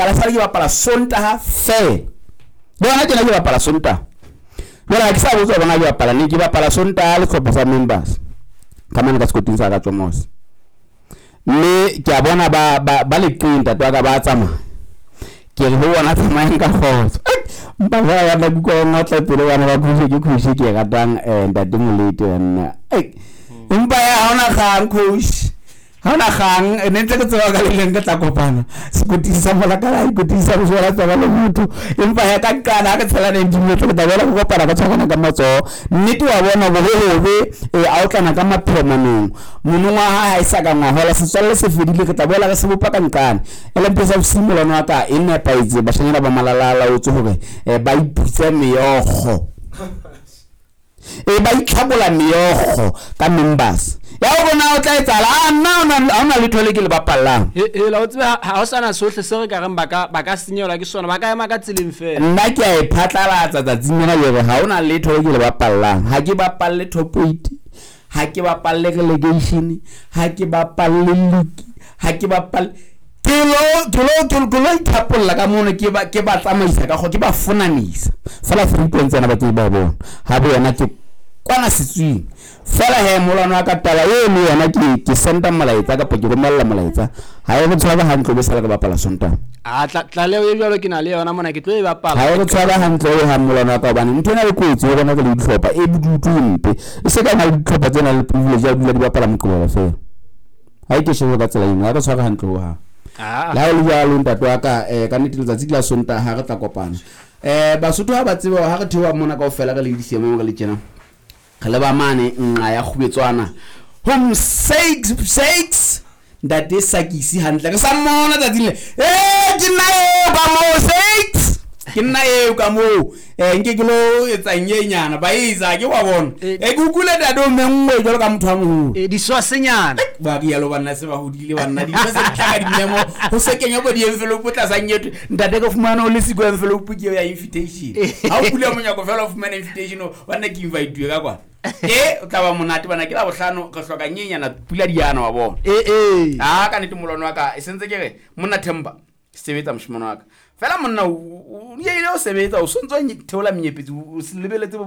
Bapala sale ke bapala Sontaha feela. Le hona tjena ke bapala Sontaha. Jwale ha ke sa botsa bona ke bapala ne ke bapala Sontaha le sehlopha sa members. Ka mane ka sekoting sa ka Tsomos. Mme ke a bona ba ba ba leqeng ntate wa ka ba tsamaya. Ke re ho bona tsamayang ka kgotso. Mpa fela ba tla kuka ba ngotla pelo bana ba khushe ke khushe ke e ratang ntate Molete banna. Empa ya ha ona kgang coach. Ha ona kgang ne ntse ke tseba ka le leng re tla kopana sekoting sa molakala sekoting sa bosola tsaba le motho empa ya ka qala ha re tshela 19 minutes re tla boela re kopana ka tshwarana ka matsoho nnete wa bona bobe hobe a otlana ka mapheo manong monong wa hae ha e sa ka ngwahola setswalle se fedile re tla boela re se bopa ka nqane LMP sa bosiu molwana wa ka e nepahetse bashanyana ba malala a laotswe hore ba iputse meokgo E ba itlhakola meokgo ka members. Ya o bona o tla etsahala. A nna ha ona letho le ke le bapallang. Hela o tsebe ha ho sana sohle se re ka reng ba ka ba ka senyehelwa ke sona, ba ka ema ka tseleng feela. Nna ke a e phatlalatsa tsatsing lena ke re ha ona letho le ke le bapallang. Ha ke bapalle top 8, ha ke bapalle relegation, ha ke bapalle league, ha ke bapalle ke lo ke lo ke lo ithapolla ka mono ke ba ke ba tsamaisa ka ke ba fonanisa fela three points tsena ba ke ba bona ha bo yona ke kwana setswing fela he molwana wa ka taba eo le yona ke ke senda molaetsa kapa ke romella molaetsa ha e re tshwara hantle be sala re bapala Sontaha. A tlaleho e jwalo ke na le yona mona ke tlo e bapala. Ha e re tshwara hantle ho hang molwana wa ka hobane ntho ena e kotsi ho rona re le dihlopha e bodutu e mpe e se ka na le dihlopha tse nang le privilege ya ho dula di bapala Moqebelo fela. Ha e ke shebe ka tsela eno, ha re tshware hantle ho hang. Ah. Le ha e le jwalo ntate wa ka ka nnete letsatsi ke la Sontaha re tla kopana. Basotho ha ba tsebe hore ha re theoha mona kaofela re le disiamong re le tjena re leba mane nqa ya Kgubetswana home six six ntate Sakisi hantle re sa mmona tsatsing le ke nna eo ka moo six ke nna eo ka moo nke ke lo etsang e nyana ba etsa ke wa bona ke utlwile ntate o menngwe jwalo ka motho a moholo Diswasenyana ba rialo banna se ba hodile banna dintho se di tla ka dimemo ho se kenya bo di-envelope tlasa nyetwe ntate ke fumana o le siko envelope ke eo ya invitation ha o bula monyako fela o fumana invitation o banna ke inviteuwe ka kwana e o tla ba monate bana ke la bohlano re hloka nyenyana pula diana wa bona a ka nnete molwana wa ka e sentse ke re monna Themba sebetsa moshimane wa ka fela monna o ile o sebetsa o sontso theola menyepetsi o se lebeletse.